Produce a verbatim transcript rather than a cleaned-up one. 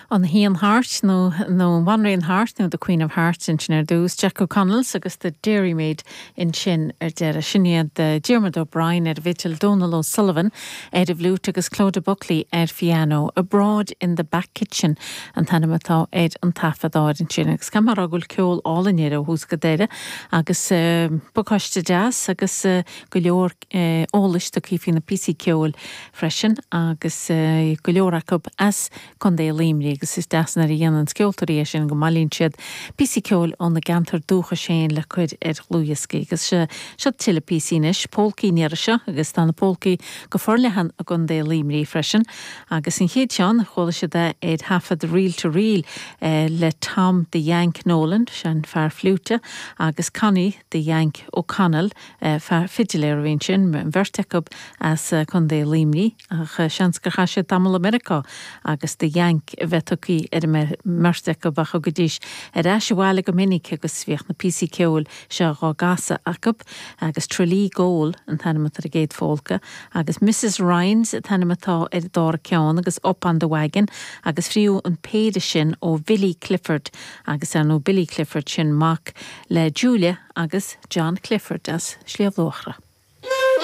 An Queen Heart nó nó Banríon Heart nó the Queen of Hearts ansin ar dtús Jack O'Connell's agus the Dairymaid ansin ar deireadh sin iad Diarmuid O'Brien ar bhfidil Donal O'Sullivan ar an bhfliúit agus Clodagh Buckley ar piano Abroad in the Back Kitchen an t-ainm atá ar an taifeadadh ansin agus cam go bhfuil ceol álainn air ó thús go deireadh agus uh, pacáiste deas agus uh, go leor uh, eolais do faoi na píosaí ceoil freisin agus uh, go leor acu as Contae Luimnigh agus is deas nuair a dhéanann ceoltóirí é sin go mbailíonn siad píosaí ceoil óna gceantar dúchais féin le cur ar dhlúthdhioscaí agus se seo tuilleadh píosaí anois polcaí an iarraidh seo agus tá na polcaí go forleathan i gContae Luimnigh freisin agus an chéad cheann chuala siad é ar thaifead Reel to Reel eh, le Tom the Yank Nolan sin fear fliúite agus Connie the Yank O'Connell eh, fear fidiléir a bhí sin beirt acu as eh, Contae Luimnigh ach seans gur chaith siad tamall i Meiriceá agus the Yank a bheith tugtha ar an mbeirt acu ach thugaidís ar ais abhaile go minic agus bhíodh na píosaí ceoil seo á gcasadh acu agus Tralee Goal an t-ainm ar an gcéad pholca agus Mrs Ryan's an t-ainm atá ar an dara ceann agus Up on the Wagon agus fiú an péire sin ó Billy Clifford agus ar nó Billy Clifford sin mac le Julia agus John Clifford as Sliabh Luachra.